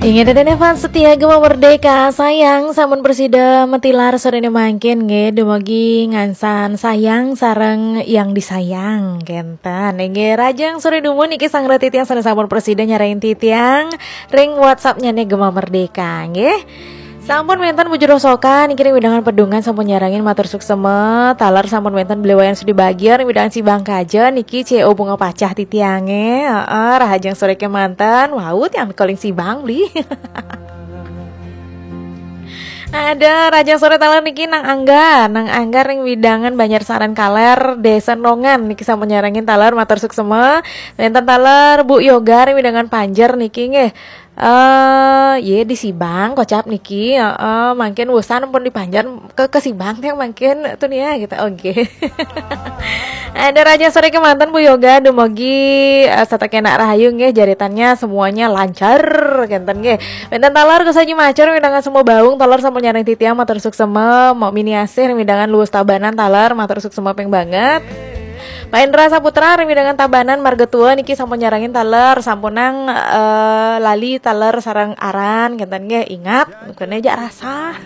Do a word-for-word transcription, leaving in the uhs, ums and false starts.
Inggih, Dede Nevan setia Gema Merdeka, sayang sampun presida matilar sorene mangkin nggih, dumugi ngansan sayang sareng yang disayang kenten. Inggih, rahajeng sore dumun niki sareng titiang sane sampun presida nyarengin titiang ring WhatsApp-nyane Gema Merdeka nggih. Sampun wenten bujur rosokan niki ring wewidangan Pedungan sampun nyarengin, matur suksema, taler sampun wenten Beli Wayan Sudi Bagia ring wewidangan Sibang Kaja niki C O Bunga Pacah titiange. Heeh, rahajeng sore kemanten. Wau tiang calling Sibang beli. Ada rahajeng sore taler niki Nang Angga, Nang Angga ring wewidangan Banjar Saran Kaler, Desa Nongan niki sampun nyarengin taler, matur suksema. Wenten taler Bu Yoga ring wewidangan Panjer niki nggih. Eh, ye di Sibang kocap niki, heeh, mangkin wusan pun di Panjer ke, ke Sibang tiang mangkin tuh nih ya gitu. Oke. Ada rahajeng sore kemanten Bu Yoga, dumugi eh, setata kenak rahayu nggih, jaritannya semuanya lancar kenten nggih. Wenten taler Gus Haji Macur ring wewidangan Sumbawa Baung, taler sampun nyarengin titiang, matur suksema, Mok Mini Asih ring wewidangan Luwus Tabanan taler, matur suksema ping banget. Pak Indra Saputra ring wewidangan Tabanan Marga Tua niki sampun nyarengin taler, sampunang eh, lali taler sareng aran kenten nggih, ingat, kene jak rasa.